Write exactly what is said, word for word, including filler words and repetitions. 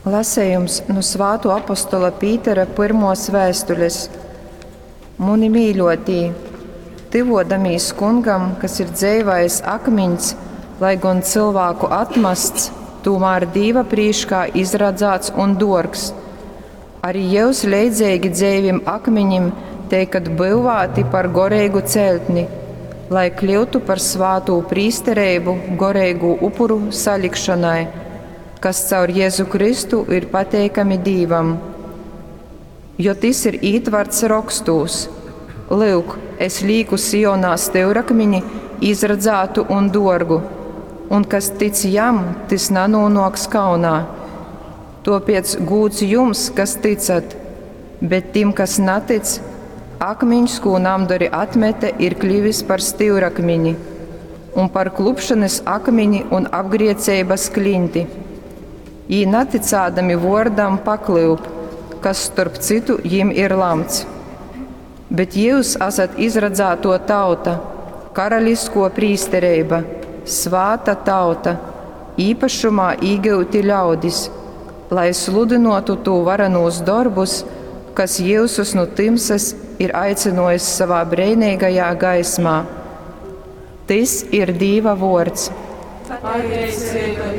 Lasejums nu Svātuo apostola Pītera pyrmuos vēstules. Muni mīļuotī, tyvuodamīs Kungam, kas ir dzeivais akmiņs, lai gon cylvāku atmasts, tūmār Dīva prīškā izradzāts un duorgs. Arī jyus leidzeigi dzeivim akmiņim teikat byuvāti par goreigu celtni, lai kļyutu par svātū prīstereibu goreigu upuru salikšonai, kas caur Jezu Kristu ir pateikami Dīvam. Jo tys ir ītvarts rokstūs. Lyuk, es līku Sionā styurakmini, izradzātu un duorgu, un kas tic jam, tys nanūnuoks kaunā. Tuopiec gūds jums, kas tycat, bet tim, kas natic, akmiņs, kū namdori atmete, ir klivis par styurakmini un par klupšanas akmini un apgrieceibas klinti. Jī naticādami vuordam paklyup, kas storp cytu jim ir lamts. Bet jyus esat izradzātuo tauta, karaliskuo prīstereiba, svāta tauta, īpašumā īgyuti ļaudis, lai sludynuotu tū varenūs dorbus, kas jyusus nu tymsas ir aicynuojis savā breineigajā gaismā. Tys ir Dīva vuords. Pateiceiba.